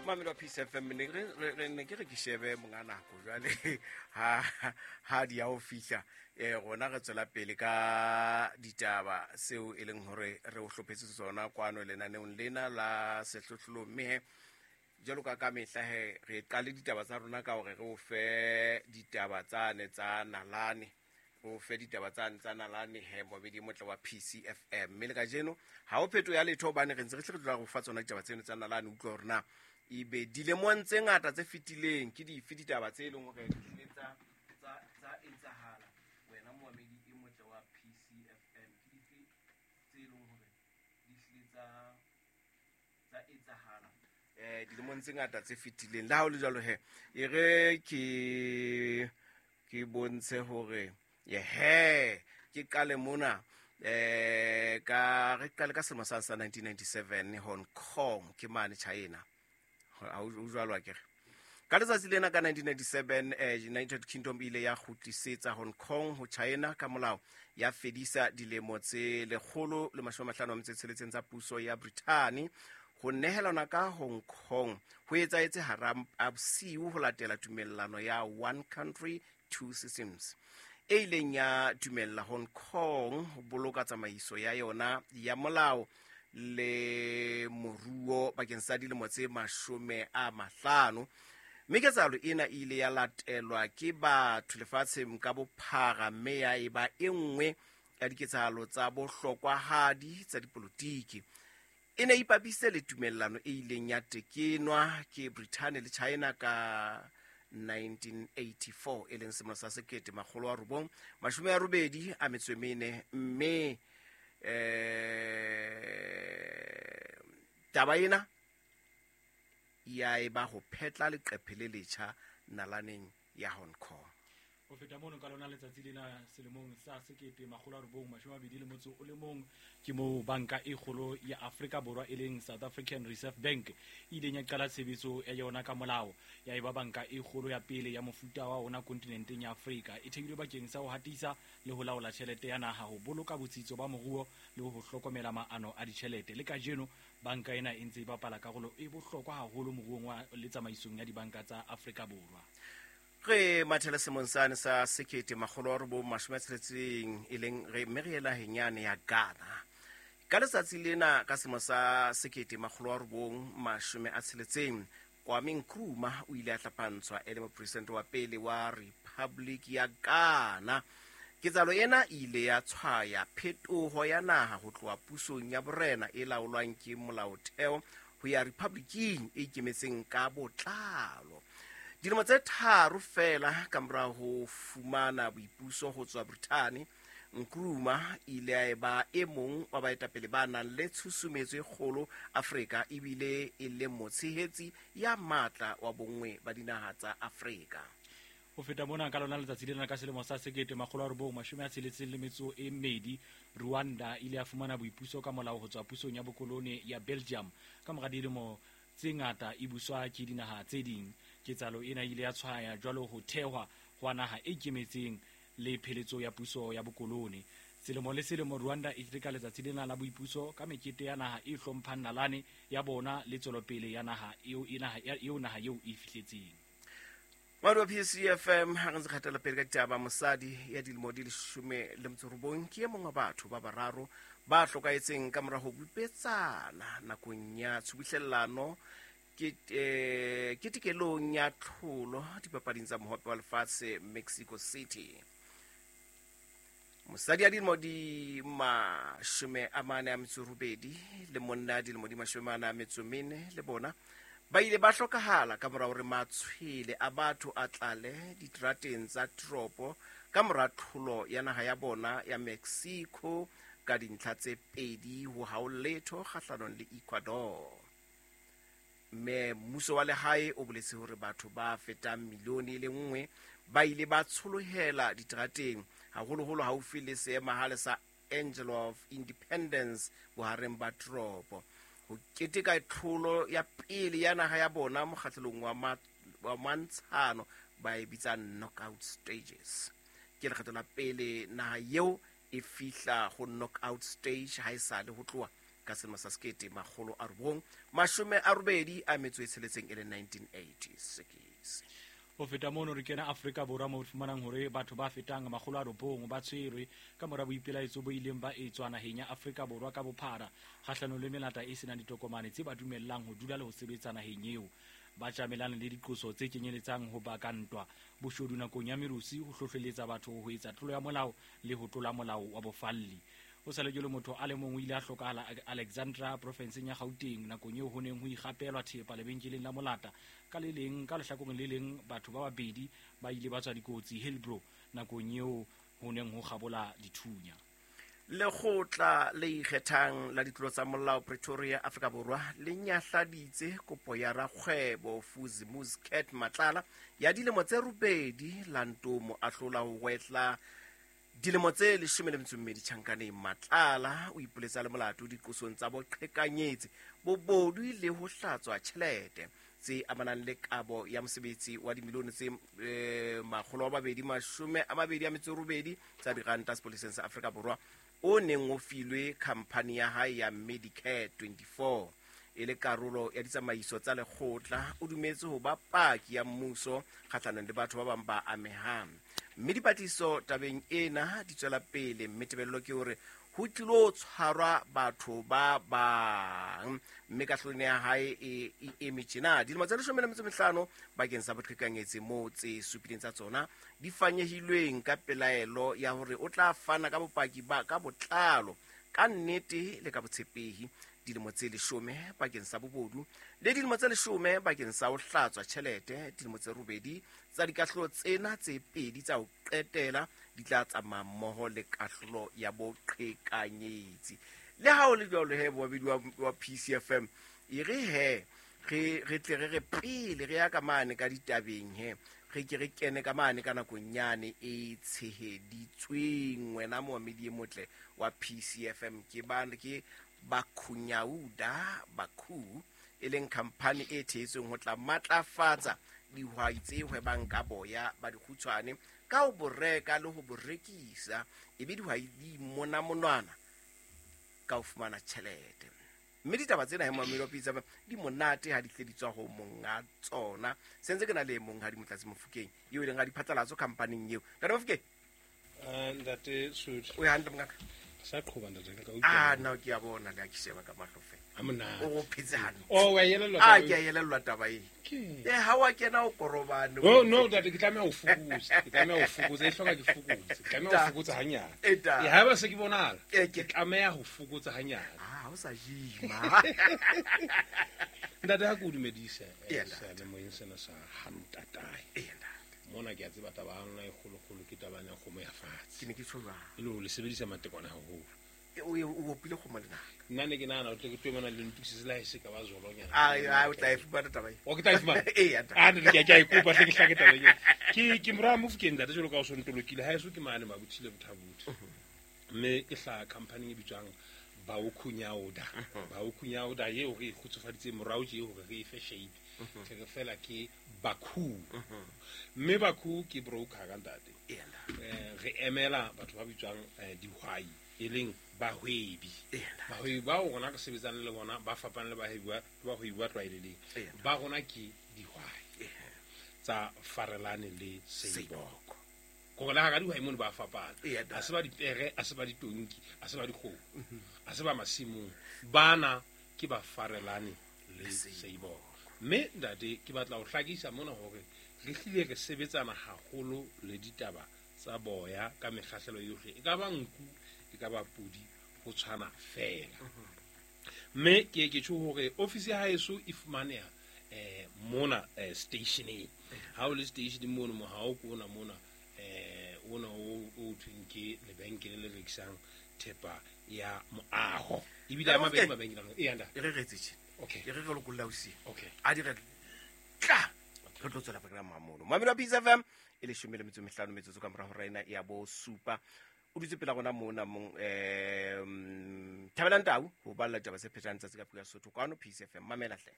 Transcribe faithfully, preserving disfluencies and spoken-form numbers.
Mamelo wa Peace F M, ne re re ne ke re ke shebe monga nako jwale ha ha di ya o fihla eh rona re tswela pele ka ditaba seo e leng hore re o hlophetse tsona kwano lenaneong lena la sehlohlolo. Mme jwalo ka ka mehla he re qale ditaba tsa rona ka hore re o fe ditaba tsane tsa nalane, o fe ditaba tsane tsa nalane he mobedi motle wa P C F M. Mme le kajeno ha o pheto ya letho hobane re ntse re hle re tloha go fa tsona ditaba tseno tsa nalane. Utlwa hore na ebe dilemong tse ngata tse fetileng ke dife ditaba tse leng hore di hlile tsa tsa tsa etsahala wena moamedi e motle wa P C F M, ke dife tse leng hore di hlile tsa tsa etsahala eh dilemong tse ngata tse fetileng. Le ha ho le jwalo he e re ke ke bontshe hore yehe ke qale mona eh ka re qale ka selemo sa nineteen ninety-seven Hong Kong ke mane China. Ha o jwalo akere ka letsatsi lena ka nineteen ninety-seven eh United Kingdom ile ya kgutlisetsa Hong Kong ho China ka molao ya fedisa dilemo tse lekgolo le mashome a mahlano a metso e tsheletseng tsa puso ya Britain. Ho nehelana ka Hong Kong ho etsahetse hara a bosiu ho latela tumellano ya One Country Two Systems e ileng ya dumella Hong Kong ho boloka tsamaiso ya yona ya molao le moruo bakeng sa dilemo tse mashome a mahlano. Mme ketsahalo ena e ile ya latelwa ke batho lefatsheng ka bophara mme ya eba e nngwe ya diketsahalo tsa bohlokwahadi tsa dipolotiki. E ne e ipapise le tumellano e ileng ya tekenwa ke Britain le China ka nineteen eighty-four e leng selemo sa sekete makgolo a robong mashome a robedi a metso e mene. Mme eh taba ena ya eba ho phetla leqephe le letjha nalaneng ya Hong Kong. Ho feta mono ka lona letsatsi lena selemong sa sekete makgolo a robong mashome a mabedi le motso o le mong ke moo banka e kgolo ya Afrika Borwa e leng South African Reserve Bank e ileng ya qala tshebetso ya yona ka molao, ya eba banka e kgolo ya pele ya mofuta wa ona kontinenteng ya Afrika. E thehilwe bakeng sa ho hatisa le ho laola tjhelete ya naha, ho boloka botsitso ba moruo le ho hlokomela maano a ditjhelete. Le kajeno banka ena e ntse e bapala karolo e bohlokwa haholo moruong wa le tsamaisong ya dibanka tsa Afrika Borwa. Re mathele semong sane sa sekete makgolo a robong mashome a tsheletseng e leng re mme re ye naheng yane ya Ghana. Ka letsatsi lena ka selemo sa sekete makgolo a robong mashome a tsheletseng Kwame Nkrumah o ile a hlapantshwa e le mopresidente wa pele wa Republic ya Ghana. Ketsahalo ena e ile ya tshwaya phetoho ya naha ho tloha pusong ya borena e laolwang ke molaotheo ho ya republiking e ikemetseng ka botlalo. Dilemo tse tharo feela ka mora ho fumana boipuso ho tswa Britain, Nkrumah ile a eba e mong wa baetapele ba nang le tshusumetso e kgolo Afrika ebile e le motshehetsi ya matla wa bonngwe ba dinaha tsa Afrika. Ho feta mona ka lona letsatsi lena ka selemo sa sekete makgolo a robong mashome a tsheletseng le metso e mmedi Rwanda ile ya fumana boipuso ka molao ho tswa pusong ya bokolone ya Belgium ka mora dilemo tse ngata e buswa ke dinaha tse ding. Ketsahalo ena ile ya tshwaya jwalo ho thehwa hwa naha e ikemetseng le pheletso ya puso ya bokolone. Selemo le selemo Rwanda e keteka letsatsi lena la boipuso ka mekete ya naha e hlomphang nalane ya bona le tswelopele ya naha eo e naha eo naha eo e fihletseng. Madu wa P C F M ha re ntse kgatela pele ka ditaba, mosadi ya dilemo di leshome le metso robong ke e mong wa batho ba bararo ba hlokahetseng ka mora ho bipetsana nakong ya tshubuhlellano ke eh ketekelong ya tlholo dipapading tsa mohope wa lefatshe Mexico City. Mosadi ya dilemo di mashome a mane a metso robedi le monna ya dilemo di mashome a mane a metso mene le bona ba ile ba hlokahala ka mora hore matshwele a batho a tlale diterateng tsa toropo ka mora tlholo ya naha ya bona ya Mexico ka dintlha tse pedi ho hao letho kgahlanong le Ecuador. Mme mmuso wa lehae o boletse hore batho ba fetang milione e le nngwe ba ile ba tsholohela diterateng haholoholo haufi le seemahale sa Angel of Independence bohareng ba toropo ho keteka tlholo ya pele ya naha ya bona mokgahlelong wa ma, wa mantshano ba e bitsang knockout stages. Ke lekgetho la pele naha eo e fihla ho knockout stage ha e sale ho tloha ka selemo sa sekete makgolo a robong mashome a robedi a metso e tsheletseng e le nineteen eighty-six. Ho feta mono re kena Afrika Borwa mo fumanang hore batho ba fetang makgolo a robong ba tshwerwe ka mora boipelaetso bo ileng ba etswa naheng ya Afrika Borwa ka bophara kgahlanong le melata e senang ditokomane tse ba dumellang ho dula le ho sebetsa naheng eo. Ba tjamelana le diqoso tse kenyeletsang ho baka ntwa, boshodu nakong ya merusu, ho hlohleletsa batho ho etsa tlolo ya molao le ho tlola molao wa bofalli. O sa le jwalo motho a le mong o ile a hlokahala Alexandra profenseng ya Gauteng nakong eo ho neng ho ikgapelwa thepa lebenkeleng la molata. Ka le leng ka lehlakoreng le leng batho ba babedi ba ile ba tswa dikotsi Hillbrow nakong eo ho neng ho kgabola dithunya. Lekgotla le ikgethang la ditlolo tsa molao Pretoria Afrika Borwa le nyahladitse kopo ya rakgwebo Fuzi Muscat Matlala ya dilemo tse robedi la ntomo ahlola ho wetla dilemo tse leshome le metso e mmedi tjhankaneng. Matlala o ipoletsa le molato diqosong tsa boqhekanyetsi, bobodu le ho hlatswa tjhelete tse amanang le kabo ya mosebetsi wa dimilione tse eh, makgolo a mabedi mashome a mabedi a metso e robedi tsa diranta sepoleseng sa Afrika Borwa o neng o filwe khamphani ya hae ya Medicare twenty-four. E le karolo ya ditsamaiso tsa lekgotla, o dumetse ho ba paki ya mmuso kgahlanong le batho ba bang ba amehang. Mme dipatlisiso tabeng ena di tswela pele, mme tebello ke hore ho tlilo tshwarwa batho ba bang. Mme kahlolo ya hae e e eme tjena dilemo tse leshome le metso e mehlano bakeng sa boqhekanyetsi moo tse supileng tsa tsona di fanyehilweng ka pelaelo ya hore o tla fana ka bopaki ba ka botlalo ka nnete le ka botshepehi. Dilemo tse leshome bakeng sa bobodu le dilemo tse leshome bakeng sa ho hlatswa tjhelete. Dilemo tse robedi tsa dikahlolo tsena tse pedi tsa ho qetela di tla tsamaya mmoho le kahlolo ya boqhekanyetsi. Le ha ho le jwalo he bobedi wa, wa P C F M e re he re re tle re re pele re ya ka mane ka ditabeng he re ke re kene ka mane ka nakonyane e tsheheditsweng. Wena moamedi e motle wa P C F M ke ba ke Bakhunyauda Bakhu e leng khamphani e thehetsweng ho tla matlafatsa dihwai tse hwebang ka boya ba dikgutshwane ka ho bo reka le ho bo rekisa, ebe dihwai di mona monwana ka ho fumana tjhelete. Mme ditaba tsena he moamedi wa Pitsa di monate ha di tle di tswa ho monga tsona. Sentse ke na le monghadi Motlatsi Mofokeng eo e leng ga diphatlalatso khamphaning eo. Ntate Mofokeng. Eh ntate Sotho. O ya hantle mongaka? Sa qhoba ntate ka utlwa. Ah no ke a bona le a ke sheba ka mahlo fela. A monate. O go phetse hantle. Oh wa yelellwa. Ah ke a yelellwa taba e. Ke. Eh ha wa kena o korobane. No no ntate ke tlameha ho fokotsa. Ke tlameha ho fokotsa e hloka ke fokotse. Ke tlameha ho fokotsa hanyane. E ha ba se ke bonala. Ke ke tlameha ho fokotsa hanyane. Ah ha o sa jima. Ntate ha ke o dumedise. Ee, Sa le moyeng sena sa hantatae. Ee, ntate. Mona ke a tseba taba ya lona e kgolokgolo ke taba ya kgomo ya fatshe. Ke ne ke tjho jwang? E le hore le sebedisa matekwane haholo. E, o o opile kgomo lenaka. Nna ne ke nahana o tle ke tlo mona le ntokisetse le ha e se ka ba zolonyana. Ai, ai, o tla e fumana taba e. O ke tla e fumana? Ee, ntate. Ah, ntate, ke a, ke a e kopa, hle ke hlake taba eo. Ke, ke mora Mofokeng ntate, jwalo ka o so ntolokile. Ha eso ke mane Mabuthile Bothabothe. Mme ke hlaha khamphaning e bitswang Baokhunyauda. Baokhunyauda eo re e kgutsufaditseng morao tje hore re e fe shape. Ke re fela ke Bakhu. Mme Bakhu ke broker ka ntate. Ee, ntate. Eh, re emela batho ba bitswang, eh, dihwai, e leng bahwebi. Ee, ntate. Bahwebi bao rona re sebetsang le bona ba fapane le bahwebi ba, bahwebi ba tlwaelehileng. Ee, ntate. Ba rona ke dihwai Ee. tsa Farelane le Seiboko. Seiboko. Hore le hara dihwai mono ba fapana. Ee, ntate. Ha se ba dipere, ha se ba ditonki, ha se ba dikgomo, ha se ba masimong. Bana ke ba Farelane le Le Seiboko. Seiboko. Mme ntate ke batla ho hlakisa mona hore re hlile re sebetsana haholo le ditaba tsa boya ka mekgahlelo yohle. E ka ba nku, e ka ba podi, ho tshwana feela. Mme ke ke tjho hore ofisi ya haeso e fumaneha, eh, mona, eh, stationeng. Ha o le stationeng mono, mohao ke ona mona, eh, ona o, o thweng ke lebenkele le rekisang thepa ya moaho. Ebile a Ntate mabedi Mofokeng. mabenkele a. Ee, ntate. E re re etse tjena. Okay. E re re lokolla ausi. Okay. A di re tla. Re tlo tswela pele ka mamono. Mamelo wa Peace F M e leshome le metso e mehlano metsotso ka mora hora ena ya bo supa. O dutse pela rona mona mong, eh, Thabelang Tau ho balla ditaba tse phethang tsatsi ka puo ya Sesotho kwano Peace F M. Mamela hle.